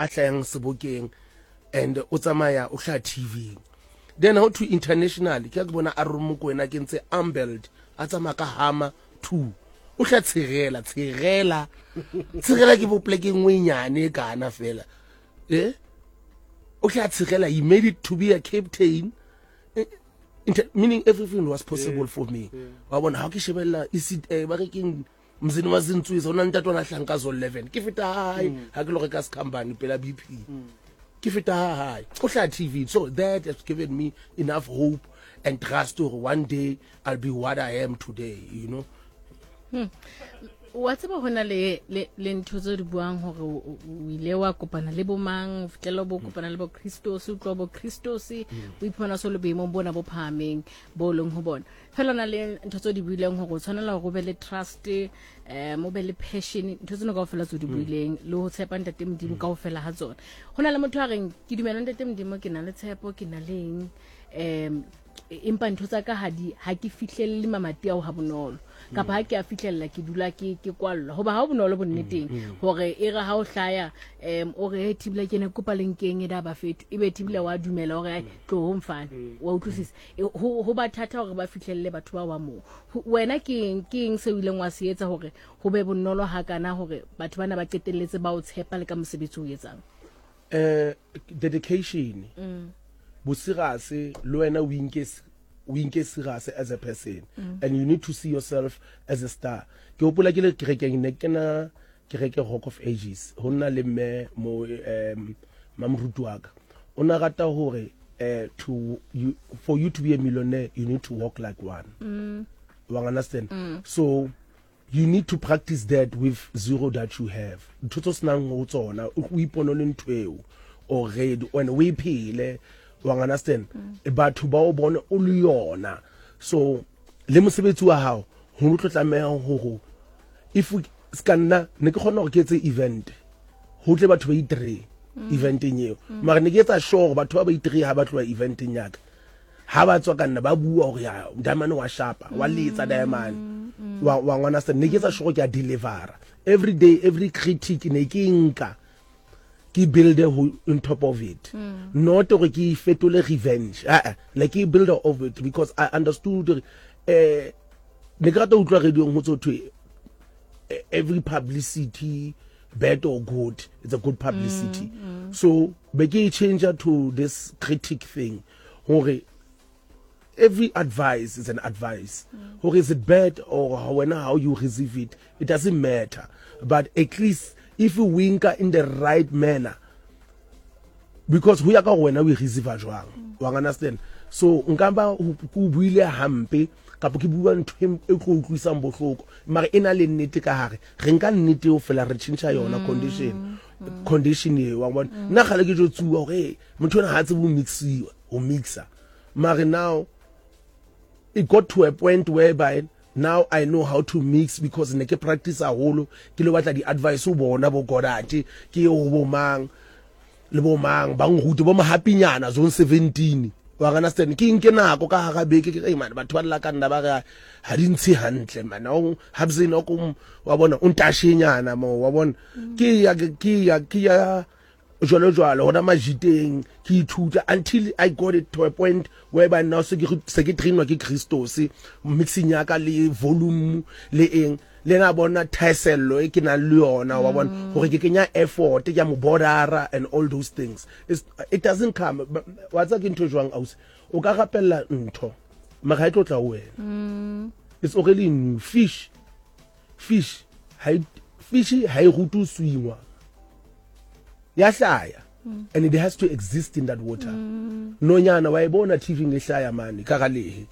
a hlayang sebokeng and o tsamaya o hlaha TV then how to international ke ke bona Aaron Mokoena ke ntse ambeld a tsamaya ka hama 2 o hla tshegela tshegela tshegela ke bo pleke nngwe e nyane e kana fela eh o hla tshegela he made it to be a captain eh, Inter meaning everything was possible yeah. for me wa bona ha ke shebella eh, ba re keng mzini wa zintswisa o na ntate ona hlang ka zone 11 ke feta hae mm. ha ke lo reka skhambane pela BP mm. ke feta hae o hla TV so that has given me enough hope and trust to one day I'll be what I am today you know hmm. Wa tseba go na le le ntho tse di buang gore o ile wa kopana le bomang o fitlhela bo kopana le bo Christos o tloa bo Christos o iphumana so le boemong bona bo phahameng bo leng ho bona fela na le ntho tse di buileng gore o tshwanela gore o be le trust um o be le passion ntho tseno kaofela tse di buileng le ho tshepa ntate modimo kaofela ha tsona go na le motho a reng ke dumela ntate modimo ke na le tshepo ke na le eng um empa ntho tsa ka ha di ha ke fihlelle mamati ao ha bonolo kapa ha ke a fihlella ke dula ke ke kwallwa hoba ha o bonolo bonneteng mm, mm. hore e re ha o hlaya um o re thibila ke ne kopa lenkeng e da ba fetho e be thibila wa dumela hore ai mm. tlo ho mfane wa utlwisisa e, ho ho ba thata hore ba fihlelle batho ba wa moo wena ke eng ke eng se o ileng wa se etsa hore ho be bonolo hakana hore batho bana ba qetelletse ba o tshepa le ka mosebetsi o etsang eh dedication mm. bosirase le wena o inke o inke serious as a person mm. and you need to see yourself as a star ke hopola ke le kerekeng ne ke na kereke rock of ages ho nna le mme mo um mamoruti wa ka o na rata hore uh, to you for you to be a millionaire you need to walk like one mm. wa understand mm. so You need to practice that with zero that you have. Ntho tse senang ho tsona o ipone le ntho eo already and o e phele wa understand mm. batho ba o bone o le yona so le mosebetsi wa hao ho tlo tlameha hore if ska nna ne ke kgona gore ke etse event ho tle batho ba itree mm. eventeng eo mm. mara ne ke etsa sure gore batho ba ba itree ha ba tloha eventeng yaka ha ba tswa ka nna ba bua gore ya diamond wa shapa wa letsa diamond mm, wa wa ngwana se ne ke tsa sure ke a delivera every day every critic ne ke nka ke build ho on top of it mm. not gore ke fetole revenge eh eh like ke build of it because i understood eh ne ke rata utlwa radio go tso thwe eh, every publicity bad or good it's a good publicity mm, mm. so be ke change to this critic thing Hore every advice is an advice. Mm. Hore is it bad or wena how you receive it, it doesn't matter. But at least if you winka in the right manner, because ho ya ka wena o e receive jwang. Mm. Wa understand? So nka ba ke buile hampe kapa ke bua ntho e tlo utlwisang bohloko mara e na le nnete ka hare re nka nnete eo fela re tšhentšha yona mm. condition mm. condition eo wa bona nna gale ke jo tsuwa gore motho ona ga tsebe go mixiwa go mixa mare now it got to a point whereby now I know how to mix because ne ke practice haholo ke lo batla di-advice ho bona bo Godate ke ho bo mang le bo mang ba nrute bo mahapinyana zone 17 wa understand ke nke nako ka hara beke ke man batho ba lla ka nna ba re ha di ntshe hantle man o habzini o wa bona o ntashenyana mo wa bona ke ya ke ya ke ya jwalo jwalo hona majiteng ke ithuta until I got it to a point whereby now se ke se ke trainwa ke Christos mixing ya ka le volume le eng le na bona thaesello e ke nang le yona wa bona mm. gore ke kenya effort ke ya mo bordera and all those things It's, it doesn't come wa tsa ke ntho jwang ausi o ka rapella ntho mara ha e tlo tla ho wena mm. it's already new fish fish ha fish ha e rute swingwa ya hlaya mm. and it has to exist in that water mm. nonyana wa e bona TV ngehlaya mane ka galehe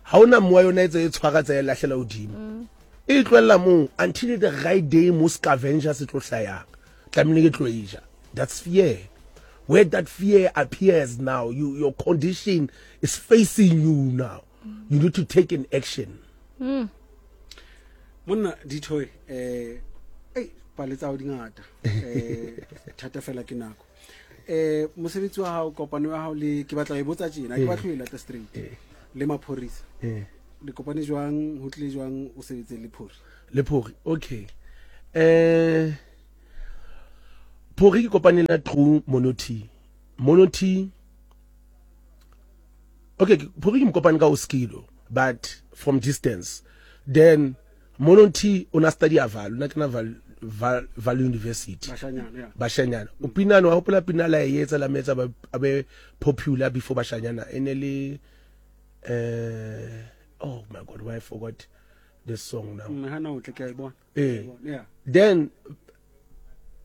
ha ona moya yona e tse e tshwara tsa e lahlela hodimo mm. e tlohella moo until the right day mo scavenger se tlo hlayang tlamehile ke tlo e ja that's fear where that fear appears now you, your condition is facing you now you need to take an action mm. monna dithoe eh ei pale tsa di ngata eh thata fela ke nako eh mosebetsi wa hao kopano ya hao le ke batla e botsa tjena ke batla e lata straight eh. le maphorisa eh. le kopane jwang ho tle jwang o sebetse le phori le phori okay eh Phori ke kopane le through Monoti. Monoti Okay, Phori ke mo kopane ka Oskido but from distance. Then Monoti o na study Vaal, o na kena Vaal Vaal, Vaal University. Bashanyana, yeah. Bashanyana. O pinane wa hopola pina la e etsa la metsa ba abe popular before Bashanyana. E ne le eh oh my god, why I forgot this song now. Hana o tle ke a e bona. Eh. Yeah. Then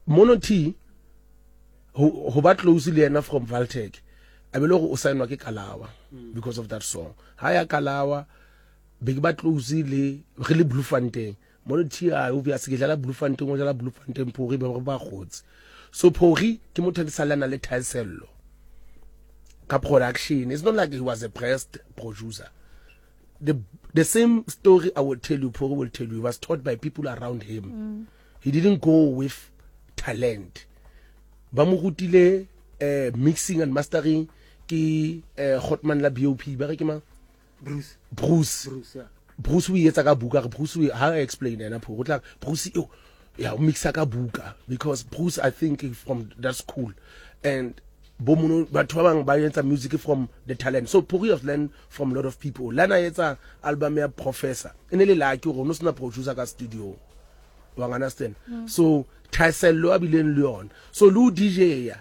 Mono T ho ba close le yena from Valtech. A be le gore o saenwa ke Kalawa mm. because of that song. Ha ya Kalawa be ke ba close le re le Bloemfontein. Mono T a obvious ke dlala Bloemfontein o dlala Bloemfontein Phori ba ba gotse. So Phori ke motho a salana le thaesello ka production. It's not like he was a pressed producer. The the same story I will tell you, Phori will tell you, he was taught by people around him. Mm. He didn't go with talent. Ba mo rutile eh, mixing and mastering ke eh, Hotman la BOP ba re ke mang? Bruce. Bruce. Bruce, yeah. Bruce o etsa ka buka re Bruce o ha explain ena Phori o tla Bruce eo ya o mixa ka buka because Bruce I think from that school and bo mono batho ba bang ba etsa music from the talent so Phori has learned from a lot of people lana etsa album ya Professor e ne le lucky gore no sena producer ka studio wa understand mm. so thaesello a bileng le yona so le o DJ ya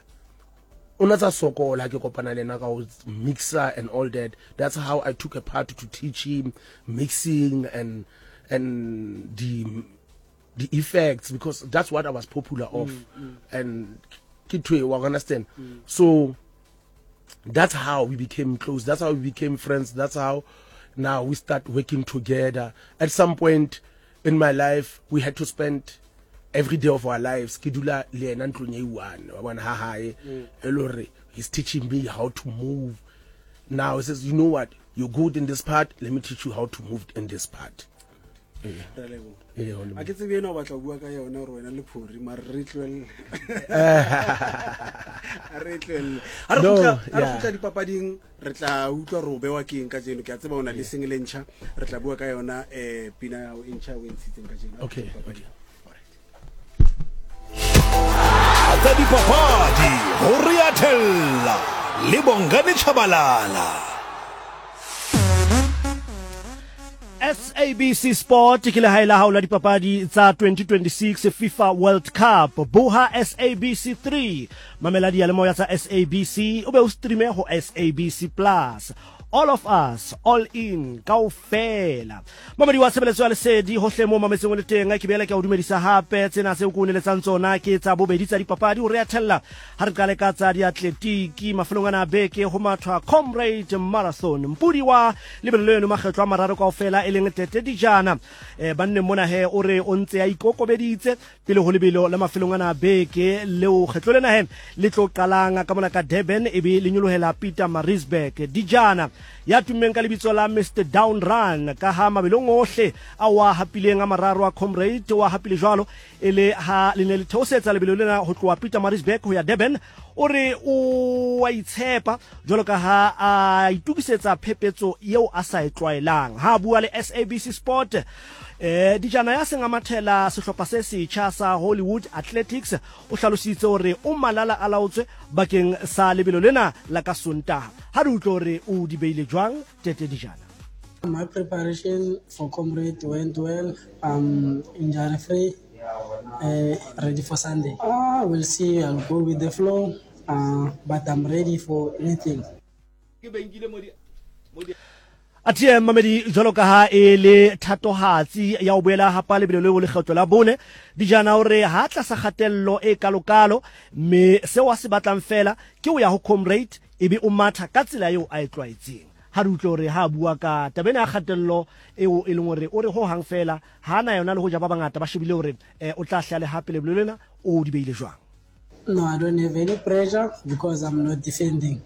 o na tsa sokola ke kopana le ena ka go mixer and all that that's how I took a part to teach him mixing and and the the effects because that's what I was popular of mm, mm. and ke thwe wa understand mm. so that's how we became close that's how we became friends that's how now we start working together at some point in my life we had to spend every day of our lives ke dula le yena ntlong e one wa bona ha hae mm. e le hore he's teaching me how to move now he says you know what you're good in this part let me teach you how to move in this part Re a leboga. Ee, go leboga. A ke tsebe ena o batla go bua ka yona gore wena le phori mare re tloelele re tloelele ga re No, gutla ga re yeah. gutla dipapading re tla utlwa gore o bewa ke eng ka jeno ke a tseba o na le single e ntšha re tla bua ka yona um pina ya gago e ntšha o e ntshitseng ka jeno Okay, Dipapading. okay. Alright. Tsa dipapadi go re a thella le Bongani Tshabalala. SABC Sport ke lehae la hao la dipapadi tsa 2026 FIFA World Cup. Boha SABC 3, mamela diyalemoya tsa SABC o be o streame ho SABC Plus. All of us, all in, kaofela. Mamedi wa tshebeletso ya lesedi hohle moo mametseng o le teng, ke boela ke a o dumedisa hape. Tsena tseo ke o neletsang tsona ke tsa bobedi tsa dipapadi. O re a thella ha re qale ka tsa diatletiki. Mafelong ana a beke ho mathwa Comrade Marathon. Mpudi wa lebelo leno makgetlo a mararo kaofela e leng Tete Dijana. E, banneng mona he o re o ntse a ikokobeditse pele ho lebelo la mafelong ana a beke leo kgetlo lena he le tlo qalang ka mona ka Durban e be le nyolohela Pietermaritzburg. Dijana ya tummeng ka lebitso la Mister Down Run ka ha mabelong ohle a wa hapileng a mararo a Comrade wa hapile jwalo e le ha le ne le theosetsa lebelo lena ho tloha Pietermaritzburg ho ya Durban. O re o a itshepa jwalo ka ha a itokisetsa phepetso eo a sa e tlwaelang. Ha a bua le SABC Sport, eh, Dijana ya seng a mathela sehlopha se setjha sa Hollywood Athletics o hlalositse hore o malala a laotswe bakeng sa lebelo lena la ka Sontaha. Ha re utlwe hore o di beile jwang Tete Dijana. My preparation for Comrade went well. I'm injury free, ready for Sunday. We'll see. I'll go with the flow, but I'm ready for anything. Athe mamedi jwalo ka ha e le thatohatsi ya ho boela hapa lebelo leo lekgetlo la bone, Dijana o re ha tlasa kgatello e kalokalo, mme seo a se batlang feela ke ho ya ho Comrade ebe o matha ka tsela eo a e tlwaetseng. Ha re utlwe hore ha a bua ka taba ena ya kgatello eo e leng hore o re ho hang feela ha a na yona le hoja ba bangata ba shebile hore o tla hle a le hape lebelo lena o di beile jwang. No, I don't have any pressure because I'm not defending.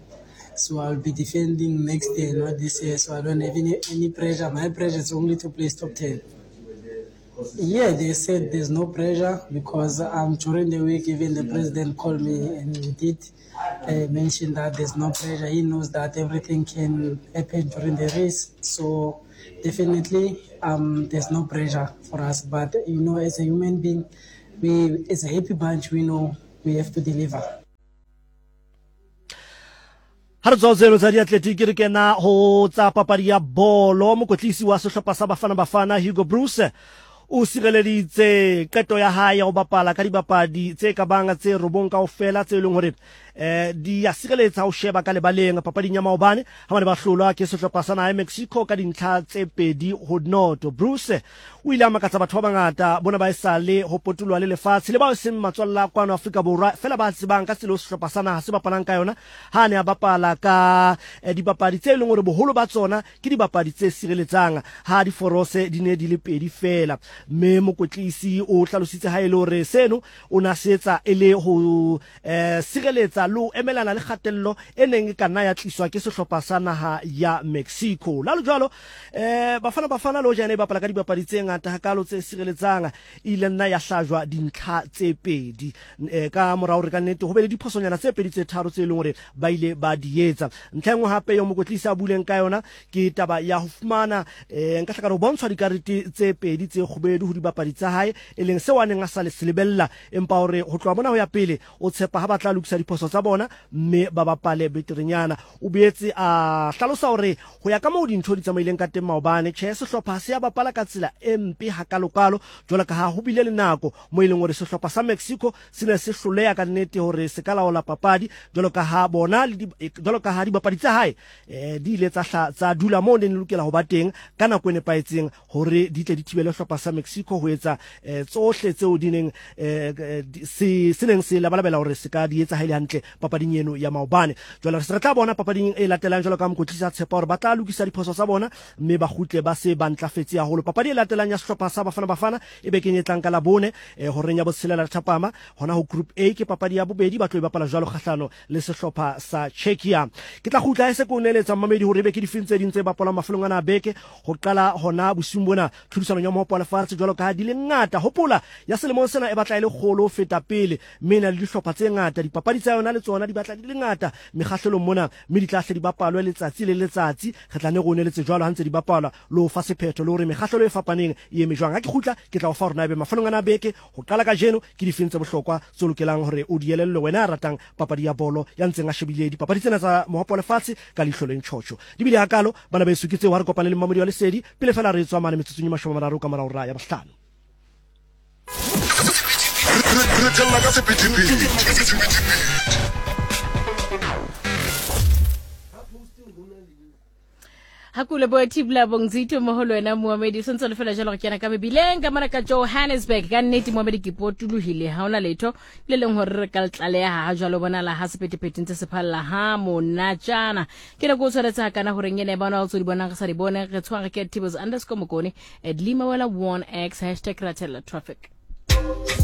So I'll be defending next year, not this year. So I don't have any pressure. My pressure is only to place top 10. Yeah, they said there's no pressure because during the week, even the president called me and he did mention that there's no pressure. He knows that everything can happen during the race. So definitely there's no pressure for us. But, you know, as a human being, we as a happy bunch, we know We have to deliver. Ha re tswa tseno tsa diatletiki re kena ho tsa papadi ya bolo. Mokwetlisi wa sehlopha sa Bafana Bafana Hugo Broos o sireleditse qeto ya hae ya ho bapala ka dibapadi tse ka bang tse robong kaofela tse leng hore eh, di ya sireletsa ho sheba ka lebaleng papading ya maobane ha ba ne ba hlolwa ke sehlopha sa naha ya Mexico ka dintlha tse 2-0. Broos o ile a makatsa batho ba bangata bona ba esale ho potoloha le lefatshe le bao e seng matswalla kwano Afrika Borwa fela ba tsebang ka tsela eo sehlopha sa naha se bapalang ka yona ha a ne a bapala ka eh, dibapadi tse leng hore boholo ba tsona ke dibapadi tse sireletsang ha diforose di ne di le pedi fela. Mme mokwetlisi o hlalositse ha e le hore seno o ne a se etsa e le ho eh, sireletsa le ho emelana le kgatello e neng e ka nna ya tliswa ke sehlopha sa naha ya Mexico. Lalo jwalo, eh, Bafana Bafana le hoja e ne e bapala ka dibapadi tse ngata hakalo tse sireletsang, e ile nna ya hlajwa dintlha tse pedi eh, ka mora hore ka nnete ho be le diphosonyana tse pedi tse tharo tse leng hore ba ile ba di etsa. Ntlha e nngwe hape eo mokwetlisi a buileng ka yona ke taba ya ho fumana eh, nka hlaka ho bontshwa dikarete tse pedi tse kgubedu ho dibapadi tsa hae, e leng seo a neng a sa le se lebella, empa hore ho tloha mona ho ya pele o tshepa ha ba tla lokisa diphoso tsa bona mme ba bapale beterenyana. O boetse a hlalosa hore ho ya ka moo dintho di tsamaileng ka teng maobane, tjhe sehlopha ha se a bapala ka tsela e mpe hakalokalo jwalo ka ha ho bile le nako mo e leng hore sehlopha sa Mexico se ne se hloleha ka nnete hore se ka laola papadi jwalo ka ha bona le jwalo ka ha dibapadi tsa hae eh, di ile tsa hla tsa dula moo ne di lokela ho ba teng ka nako e nepahetseng hore di tle di thibele hlopha sa Mexico ho etsa eh, tsohle tseo di neng eh, eh se se neng se labalabela hore se ka di etsa ha ile hantle papading eno ya maobane. Jwale re se re tla bona papading e latelang jwalo ka mokwetlisi a tshepa hore ba tla lokisa diphoso tsa bona mme ba kgutle ba se ba ntlafetse haholo. Papadi e latelang ya sehlopha sa Bafana Bafana e bekeng e tlang ka Labone eh, horeng ya botshelela thapama hona ho Group A ke papadi ya bobedi ba tlo e bapala jwalo kgahlano le sehlopha sa Czechia. Ke tla kgutla e se ke o neeletsa mmamedi hore ebe ke difeng tse ding tse bapalwang mafelong ana a beke ho qala hona bosiung bona tlhodisanong ya mohopo wa lefatshe jwalo ka ha di le ngata. Hopola ya selemong sena e batla e le kgolo ho feta pele mme e na le dihlopha tse ngata. Dipapadi tsa yona le tsona di batla di le ngata mekgahlelong mona mme di tla hle di bapalwe letsatsi le letsatsi. Re tla ne re o neletse jwalo ha ntse di bapalwa le ho fa sephetho le hore mekgahlelo e fapaneng e eme jwang. Ha ke kgutla ke tla o fa hore na ebe mafelong ana a beke ho qala kajeno ke difeng tse bohlokwa tse o lokelang hore o di elellwe wena ya ratang papadi ya bolo ya ntseng a shebile dipapadi tsena tsa mohopo wa lefatshe ka leihlo le ntjhotjho. Di bile hakalo bana beso ke tseo ha re kopane le mmamodi wa lesedi pele fela re tswa mane metsotsong e 30 ka mora hora ya bohlano. Re thella ka sephethephethe. Ha ke o leboha Thibla Bongzito mo ho lwena Mohamedi o sentse le fela jalo re kena ka mebileng ka mona ka Johannesburg ka nnete Mohamedi ke potolohile ha ona letho le leng hore re ka le tlaleha ha jwalo bonala ha sephethephethe ntse se phalla ha monatjana ke ne ke o tshwaretse ha kana horeng ena e bona o tso di bonang re sa di bone re tshware ke Tibos underscore Mokone at Limawela 1x hashtag ratella traffic.